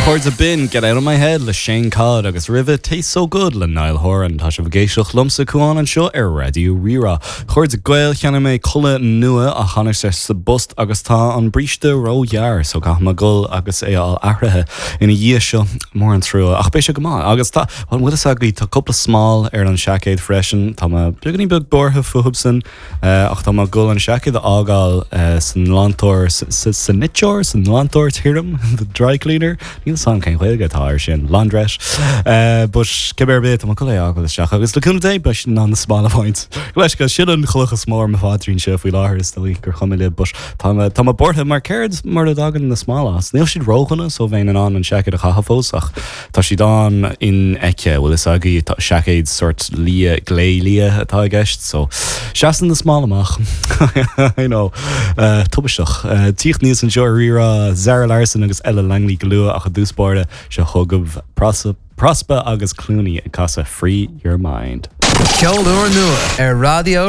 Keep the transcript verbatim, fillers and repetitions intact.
Chairde b'in Get Out of My Head le Shane Codd agus roimhe Taste So Good le Niall Horan tá sibh ag éisteacht liomsa Cuán anseo ar Raidió Rí-Rá. Chairde Gael cheannaigh mé culaith nua a tháinig sé sa bpost agus tá an bríste róghearr so caithfidh mé dul agus é a athraithe ina dhiaidh seo mór an trua ach beidh sé go maith agus tá an bhfuil a fhios tá cúpla smál ar an seaicéad freisin Tá mé beagáinín beag buartha fúthu sin uh, ach tá mé ag dul an seaicéad a fhágáil uh, san nglantóir sa niteoir san nglantóir tirim the dry cleaner Níl san cén Ghaeilge atá ar sin laundrette uh, but cibé ar bith tá mé ag dul é a fhágáil isteach agus le cúnamh Dé beidh ná na smáil a bhaint. Leis go sin an chloch is mó ar mo phaidrín seo faoi láthair is dóigh gur chuma libh, but tá tá mé buartha mar céard mar a dtagann na smáil as. Níl siad ródhona so bheinn in ann an seaicéad a chaitheamh fós ach tá siad an-infheicthe bhfuil fhios agaibh tá seaicéad sort liath gléliath atá i gceist, so seasann na smáil amach I know uh, tubaisteach uh, Tíocht níos anseo Rí-Rá Zara Larsson agus Ella Langley go luath ach i dtús báire seo chugaibh Prospa agus Clooney ag casadh Free Your Mind. Ceol úr nua ar Raidió